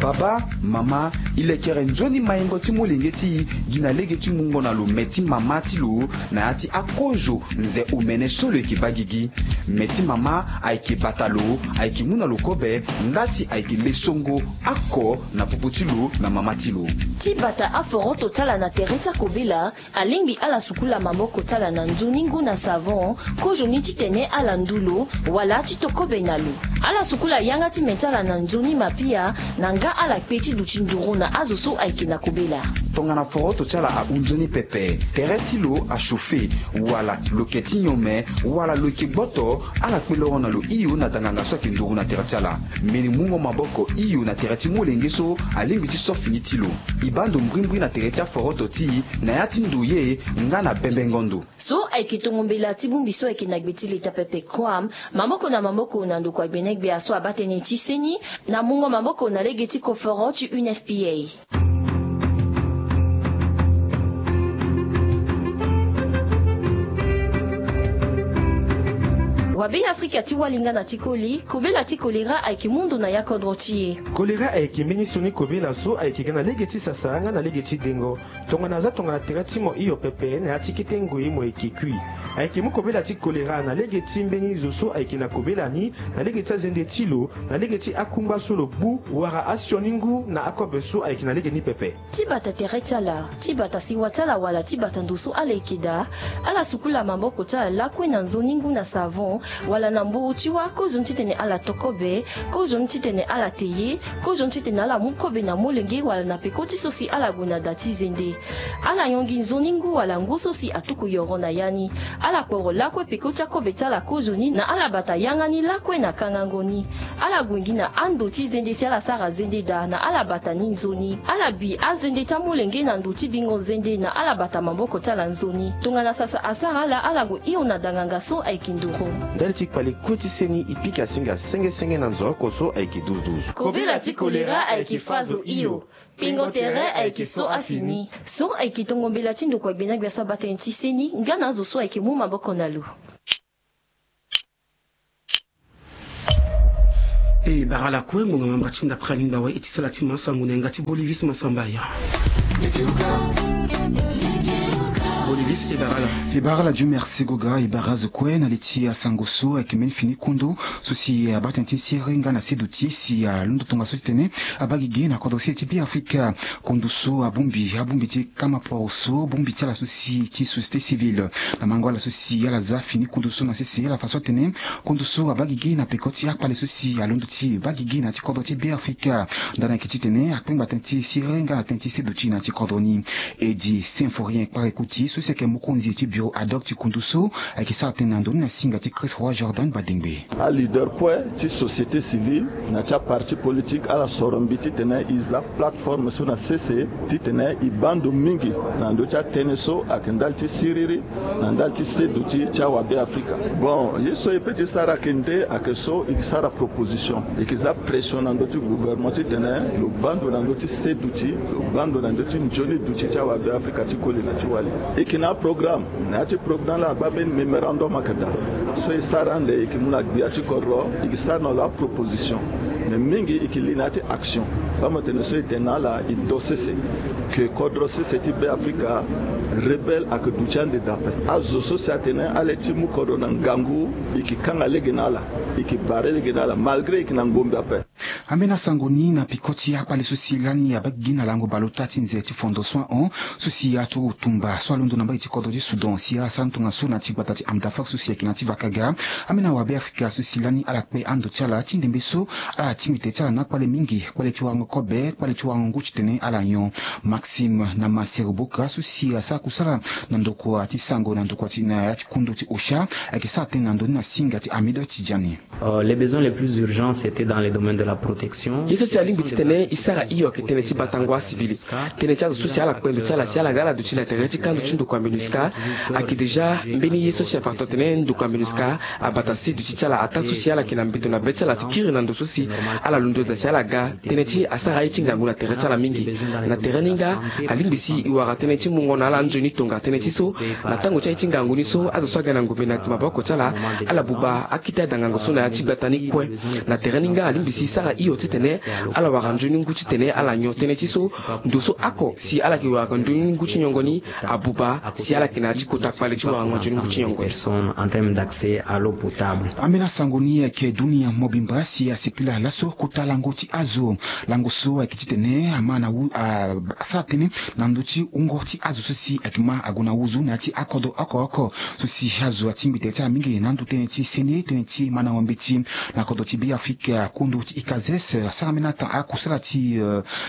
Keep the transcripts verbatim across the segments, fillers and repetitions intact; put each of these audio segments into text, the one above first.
Papa, mama, e lekere nzoni maingo ti molenge ti e gi na lege ti mungo na lo me ti mama ti lo na ya ti akozo nze omene so lo yeke baa gigi. Me ti mama ayeke bata lo, ayeke mu na lo kobe, nga si ayeke le songo ako na popo ti lo na mama ti lo. Ti bata aforoto ti ala na tere ti akobela, alingbi ala sukula maboko ti ala na nzoni ngu na savon, kozoni titene ala ndu lo, wala ti to kobe na lo. Ala sukula yanga ti me ti ala na nzoni mapia, na nga ala kpe ti duti nduru na azo so ayeke na kobela. Tongana foroto ti ala ahunzoni pepe, tere ti lo achauffe, wala lo yeke ti nyon me, wala lo yeke gboto, ala kpe loro na lo hio na danganga so ayeke nduru na tere ti ala. Mbeni mungo maboko hio na tere ti molenge so alingbi ti so fini ti lo. E baa ndo mbrimbri na tere ti aforoto ti e na ya ti ndoye nga na bembengo ndo. So ayeke tongo mbela ti bongbi so ayeke na gbe ti leta pepe, Quam, maboko na maboko na ndokua gbenegbia so abaa tënë ti seni, na mungo maboko na lege ti koforo ti U N F P A. Wabe Afrika ti wali nga na ti koli, kobela ti kolera ayeke mu ndo na ya kodro ti e. Kolera ayeke mbeni sioni kobela so ayeke ga na lege ti sasa nga na lege ti dengo. Tongana aza tongana tere ti mo hio pepe na ya ti kete ngoi mo yeke kui. Ayeke mu kobela ti kolera na lege ti mbeni zo so ayeke na kobela ni, na lege ti azende ti lo, na lege ti akungba so lo gbu, wala asioni ngu na akobe so ayeke na lege ni pepe. Ti bata tere ti ala, ti bata sewa ti ala wala ti bata ndo so ala yeke daa, ala sukula maboko ti ala lakue na nzoni ngu na savon, wala na mburu ti wâ, kozoni titene ala to kobe, kozoni titene ala te ye, kozoni titene ala mu kobe na molenge wala na peko ti so si ala gue na da ti zende. Ala yongi nzoni ngu wala ngu so si atuku yoro na ya ni. Ala kporo lakue peko ti akobe ti ala kozoni na ala bata yanga ni lakue na kangango ni. Ala gue gi na ando ti zende si ala sara zende daa na ala bata ni nzoni. Ala bi azende ti amolenge na ndo ti bingo zende na ala bata maboko ti ala nzoni. Tongana sasa asara ala, ala gue hio na danganga so ayeke nduru. Ndali ti kpale kue ti seni e pika singa senge senge na nzoroko so ayeke duzu duzu. Kobela ti kolera ayeke fâ zo hio. Pingo tere ayeke so afini. So ayeke tongo mbela ti ndokua gbenegbia so abaa tënë ti seni nga na azo so ayeke mu maboko na lo. E bara lakue ngonga mamba ti nda près alingba wai e ti sala ti ma sango na yanga ti Bolivis Masambaya. Bolivis, e bara la. E bara la, Dieu merci Goga, e bara zo kue na li ti asango so ayeke mbeni fini kundu so si abaa tënë ti sere nga na seduti si alondo tongaso titene abaa gigi na kodro sere ti Beafrika. Kundu so abongbi, abongbi ti kama poro so, bongbi ti ala so si ti société civile. Na mango ala so si ala za fini kundu so na sese, ala fa so atene kundu so abaa gigi na peko ti akpale so si alondo ti baa gigi na ya ti kodro ti Beafrika. Ndani ayeke titene akpengba tënë ti sere nga na tënë ti seduti na ya ti kodro ni. Edi Symphorien Kpara Ekuti so si ayeke mokonzi ti bureau ad hoc ti kundu so ayeke sara tënë na ndoni na singa ti Chris Roy Jordan Badengbe. Aleader kue ti société civile na ti aparti politique ala soro mbi titene e za plateforme so na sese titene e baa ndo mingi na ndö ti atënë so ayeke ndali ti siriri na ndali ti seduti ti awabe Afrika. Bon, ye so e peut ti sara ayeke nde ayeke so e ke sara proposition, e ke za pression na ndö ti gouvernement titene lo baa ndo na ndö ti seduti, lo baa ndo na ndö ti nzoni duti ti awabe Afrika ti koli na ti wali. E ke na aprogramme. Na ya ti programme laa abaa mbeni mémorandum ayeke daa. So e sara ande e ke mu na gbia ti kodro, e ke sara na lo aproposition. Mais mingi e ke li na ya ti action. Baa mo tene so e tene na ala e do sese, que kodro sese ti Beafrika rebelle ayeke duti ande daa ape. Azo so si atene ala ye ti mu kodro na ngangu, e ke kanga lege na ala, e ke bare lege na ala malgré e ke na ngombe ape. Ambeni asango ni na peko ti akpale so si lani abaa gigi na lango bale ota ti nze ti fondo soin hon so si aturu tumba so alondo na mbage ti kodro ti Soudan si ala sara tongaso na ya ti gbata ti Amdafak so si ayeke na ya ti Vakaga. Ambeni awabe Afrika so si lani ala kpe ando ti ala ti ndembe so ala tingbi tene ti ala na akpale mingi, kpale ti warango kobe, kpale ti warango ngu titene ala nyon. Maxime na Masero Boka so si asara kusala na ndokua ti sango na ndokua ti na ya ti kundu ti Osha ayeke sara tënë na ndo ni na singa ti Hamido Tidjani. Euh, les besoins les plus urgents, c'était dans les domaines de la protection. Ye so si alingbi titene e sara hio ayeke tënë ti batango acivil. Tënë ti azo so si ala kpe ndo ti ala si ala ga ala duti na tere ti kando ti ndokua MINUSCA. Ayeke déjà mbeni ye so si afa tongana tene ndokua MINUSCA abata si duti ti ala ataa so si ala yeke na mbeto na be ti ala ti kiri na ndo so si ala londo daa si ala ga tënë ti asara ye ti ngangu na tere ti ala mingi. Na tere ni nga alingbi si e wara tënë ti mungo na ala nzoni tonga tënë ti so na tango ti aye ti ngangu ni so azo so aga na ngombe na maboko ti ala, ala buba akete adangango so na ya ti gbata ni kue. Na tere ni nga alingbi si e sara hio Titene ala wara nzoni ngu titene ala nyon tënë ti so ndo so oko si ala yeke wara nzoni ngu ti nyongo ni abuba si ala yeke na ya ti kota kpale ti warango nzoni ngu ti nyongo ni. Ambeni asango ni ayeke dunia mobimba si asepela laso kota lango ti azo. Lango so ayeke titene ama na wu asara tënë na ndö ti wungo ti azo so si ayeke ma ague na wuzu na ya ti akodro oko oko so si azo atingbi tere ti ala mingi na ando tënë ti seni tënë ti mandango mbeti na kodro ti Beafrika, kondo ti ICASEES asara ambeni ata akusala ti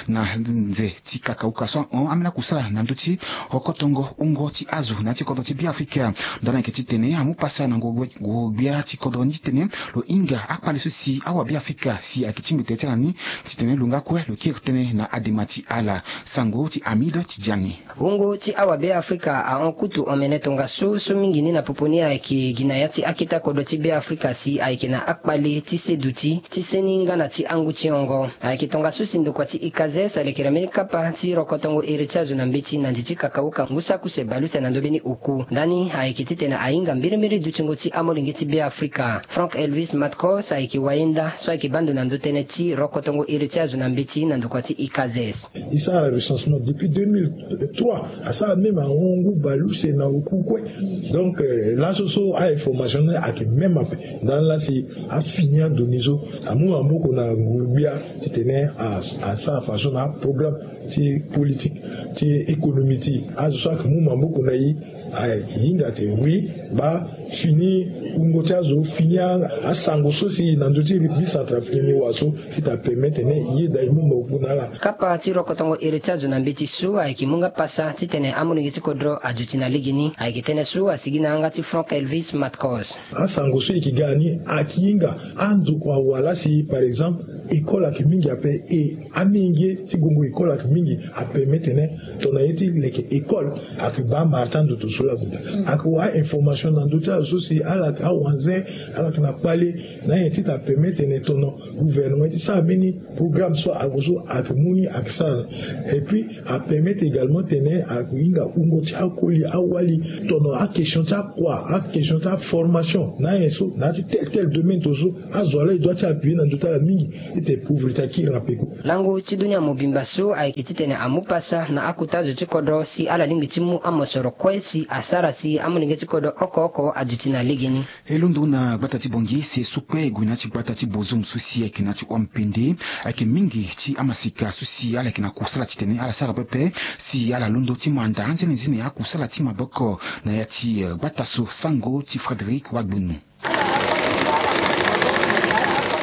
na nze ti kakauka so ahon ambeni akusala na ndö ti rokotongo wungo ti azo na ya ti kodro ti Beafrika. Ndani ayeke titene amu pasa na ngoro gbia ti kodro ni titene lo hinga akpale so si awabeafrika si ayeke tingbi tere ti ala ni titene lo nga kue lo kiri tënë na adema ti ala. Sango ti Hamid Tidjani. Wungo ti awabeafrika ahon kutu omene tongaso so mingi ni na popo ni ayeke gi na ya ti akete kodro ti Beafrika si ayeke na akpale ti seduti ti seni nga na ti angu ti hongo. Ayeke tongaso si ndokua ti ICASEES alekere mbeni kapa ti rokotongo iri ti azo na mbeti na ndi ti kakauka ngu saki use bale use na ndö mbeni oku. Ndani ayeke titene ahinga mbirimbiri dutingo ti amolenge ti Beafrika. Frank Elvis Matkos ayeke wayenda so ayeke baa ndo na ndö tënë ti rokotongo iri ti azo na mbeti na ndokua ti ICASEES. E sara recensement depuis deux mille trois, asara même ahon ngu bale use na oku kue. Donc laso so a information ni ayeke même ape. Ndani laa si afini adonnées so amu maboko na nguru-gbia titene asara façon na aprogramme ti politique ti économie ti azo so ayeke mu maboko na e. Ahinga ate oui baa fini wungo ti azo fini asango so si na ndö ti bi centrafricain ni wa so fita permettre tene e yeda e mu maboko na ala. Kapa ti rokotongo iri ti azo na mbeti so ayeke mu nga pasa titene amolenge ti kodro aduti na lege ni ayeke tënë so asigi na yanga ti Frank Elvis Matkos. Asango so e yeke ga na ni ayeke hinga andokua wala si par exemple école ayeke mingi ape e amenge ti gongo école ayeke mingi apermettre tene tongana ye ti leke école ayeke baa mara ti andoto so laku daa. Ayeke wara information na ndö ti ala so si ala yeke awanze ala yeke na kpale na nyen ti ta permettre tene tono gouvernement ti sara mbeni programme so ague so ayeke mu ni ayeke sara. Et puis apermettre également tene ahinga wungo ti akoli awali tono aquestion ti akua aquestion ti aformation na ayen so na ya ti tel tel domaine to so azo ala e doit ti appuyer na ndö ti ala mingi. Ete pauvreté akiri na peko. Lango ti dunia mobimba so ayeke titene amu pasa na akota zo ti kodro si ala lingbi ti mu amosoro kue si asara si amolenge ti kodro oko oko aduti na legeni. E londo na gbata ti Bangui si e sukpe e gue na ya ti gbata ti Bozoum so si ayeke na ya ti hua mpende. Ayeke mingi ti amaseka so si ala yeke na kusala titene ala sara pepe si ala londo ti manda anzenenzene akusala ti maboko na ya ti gbata so. Sango ti Frédéric Wagbunu.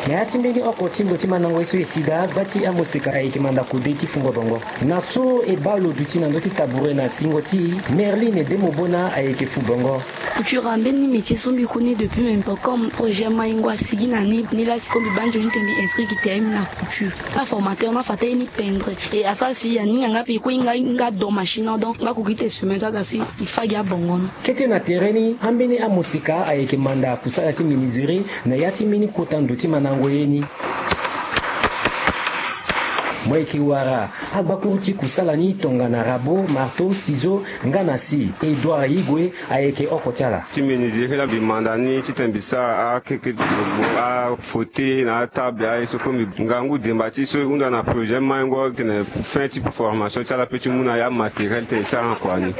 Na ya ti mbeni oko ti ndo ti mandango ye so e sida gba ti amoseka ayeke manda kode ti fungo bongo. Na so e baa lo duti na ndö ti tabure na singo ti Merline Demobona ayeke fu bongo. Couture ambeni métier so mbi koni depuis même pas comme projet Maingo asigi na ni, ni la si comme mbi baa nzoni tene mbi inscrit gi tene mbi na couture. Aformateur ni afa tene ni pendre et asara si aninga nga mpe e kue hinga hinga do machine donc nga ko gi tene semaine so aga so e fa gi abongo ni. Kete na tere ni ambeni amoseka ayeke manda kusala ti menuiserie na ya ti mbeni kota ndo ti mandango ye ni. Mo yeke wara agbakuru ti kusala ni tongana rabot, marteau, ciseau nga na scie. Edouard Igwe ayeke oko ti ala. Ti menuiserie la mbi manda ni titene mbi sara akeke, afauteuil na atable aye so kue mbi ngangu demba ti so e hunda na projet Maingo titene fin ti formation ti ala pe ti mu na ya matériel titene e sara na kua ni.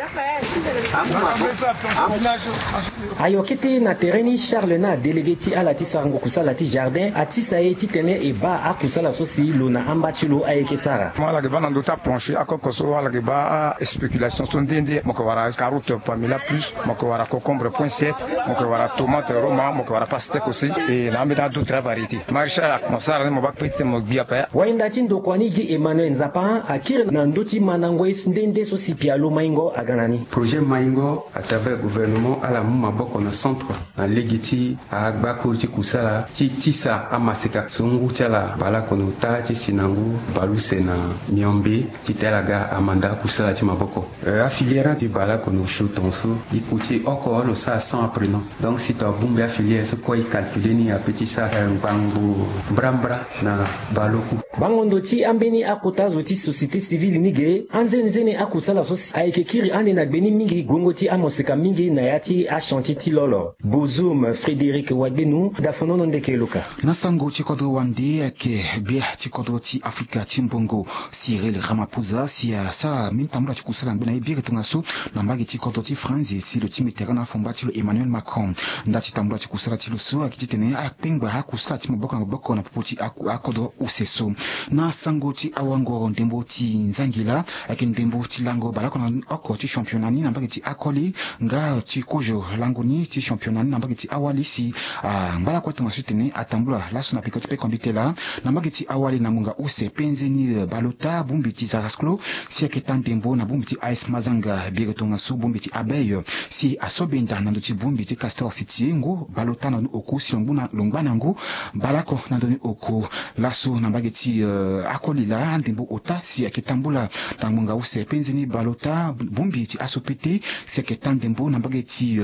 Ayo kete na tere ni Charles na délégué ti ala ti sarango kusala ti jardin atisa e titene e baa akusala so si lo na amba ti lo ayeke sara. Mo ala yeke baa na ndö ti aplancher akoko so ala yeke baa aspéculation so nde nde mo yeke wara carotte pamela plus, mo yeke wara concombre poinsette, mo yeke wara tomate roma, mo yeke wara pastèque aussi. E na ambeni adot ti avariété maraîchage mo sara ni mo baa kpe titene mo gbi ape. Wahinda ti ndokua ni gi Emmanuel Nzapa akiri na ndö ti mandango ye nde nde so si pialo Maingo aga na ni. Projet Maingo à travers gouvernement ala mu maboko na centre na lege ti agbakuru ti kusala ti tisa amaseka so ngu ti ala baleoko na ota ti si na ngu. Baleuse na miombe ti tela ga amanda akusala ti maboko. Afiliere ti baleoko na osio tongaso e kuti oko lo sara sans apprenant. Donc si to abongbi afiliere so kue e calcule ni ape ti sara ngbangbo mbrambra na baleoku. Bango ndo ti ambeni akota zo ti société civile ni ge anzenizeni akusala so si ayeke kiri ande na gbeni mingi gongo ti amoseka mingi na ya ti achantier ti lolo. Bozum Frédéric Wagbenu, dafonono ndeke luka. Na sango ti kodro wande ayeke bia ti kodro ti Afrika ti mbongo Cyril Ramaphosa si asara mingi tambula ti kusala ngbe na ye biri tongaso na mbage ti kodro ti France si lo ti mbi tere na afomba ti lo Emmanuel Macron. Nda ti tambula ti kusala ti lo so ayeke titene akpengba akusala ti maboko na maboko na popo ti akodro use so. Na sango ti awangoro ndembo ti nzangila ayeke ndembo ti lango baleoko na oko ti championnat ni na mbage ti akoli nga ti kozo lango ni ti championnat ni na mbage ti awali si angba lakue tongaso titene atambula laso na peko ti peko mbi tela na mbage ti awali na ngonga use pe nzeni baleota bongbi ti zarasclo si ayeke taa ndembo na bongbi ti AS Mazanga biri tongaso bongbi ti abeille si aso benda na ndo ti bongbi ti Castor City ngu baleota na ndoni oko si lo ngba na ngu baleoko na ndoni oko. Laso na mbage ti akoli laa andembo ota si ayeke tambula na ngonga use pe nzeni baleota bongbi ti aso pete si ayeke taa ndembo na mbage ti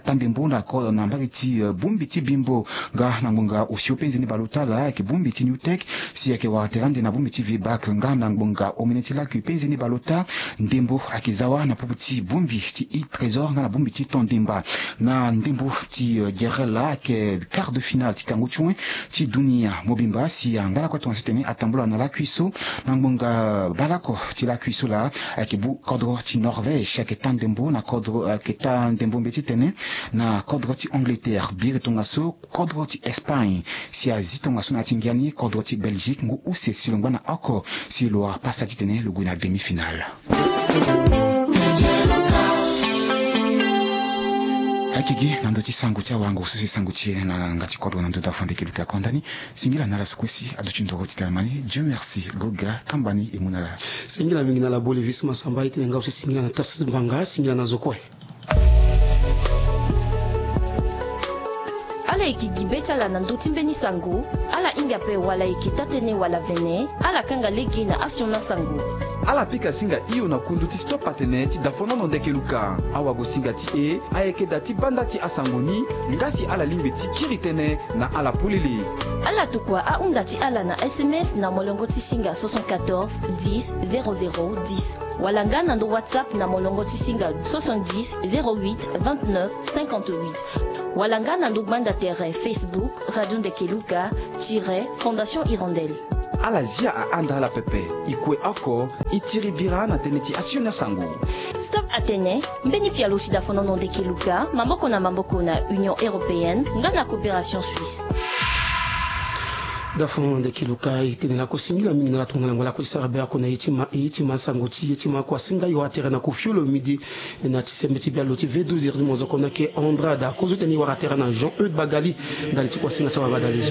taa ndembo na mbage ti bongbi ti bimbo. Nga na ngonga osio pe nzeni baleota laa ayeke bongbi ti New Tech si ayeke wara tere ande na bongbi ti Vibak nga na ngonga omene ti lakui pe nzeni baleota ndembo ayeke za wa na popo ti bongbi ti Trésor nga na bongbi ti Tondimba. Na ndembo ti gerel laa ayeke quart de finale ti kangu ti wen ti dunia mobimba si angba lakue tongaso titene atambula na lakui so. Na ngonga baleoko ti lakui so laa ayeke bu kodro ti Norvège ayeke taa ndembo na kodro ayeke taa ndembo mbeti tene na kodro ti Angleterre biri tongaso kodro ti Espagne si azi tongaso na ya ti ngia ni kodro ti Belgique ngu use si lo ngba na oko si lo wara pasa titene lo gue na demi-finale. Ayeke gi na ndö ti sango ti awango so si sango ti e na yanga ti kodro na ndö dafo ndeke luka konda ni. Singila na ala so kue si aduti ndoro ti tara ma ni. Dieu merci. Goga kamba ni e mu na ala. Singila mingi na ala bolivis masamba e tene nga so singila na Tarsis Mbanga singila na zo kue. Ala yeke gi be ti ala na ndö ti mbeni sango. Ala hinga ape wala e yeke taa-tënë wala vene. Ala kanga lege na asioni asango. Ala pika singa hio na kundu ti Stop Atene ti dafonono ndeke luka. Awagosinga ti e ayeke daa ti banda ti asango ni. Nga si ala lingbi ti kiri tënë na ala polele. Ala tokua ahunda ti ala na S M S na molongo ti singa soixante-quatorze dix zéro zéro dix. Wala nga na ndo WhatsApp na molongo ti singa soixante-dix zéro huit vingt-neuf cinquante-huit. Wala nga na ndo gbanda tere Facebook Radio Ndeke Luka tiret Fondation Hirondelle. Ala zia ahanda ala pepe. E kue oko e tiri bira na tënë ti asioni asango. Stop Atene, mbeni pialo ti dafonono ndeke luka maboko na maboko na Union Européenne nga na Coopération Suisse. Dafonono ndeke luka e tene lako singila mingi na ala tongana lango lako ti sara be oko na ye ti ma ye ti ma sango ti ye ti ma oko asinga yo atere na kofio lo midi. Na ti sembe ti bialo ti V douze iri ti mozoko na ke Andrada kozo tene e wara tere na Jean Eude Bagali. Ndali ti kuasinga ti awabadalezo.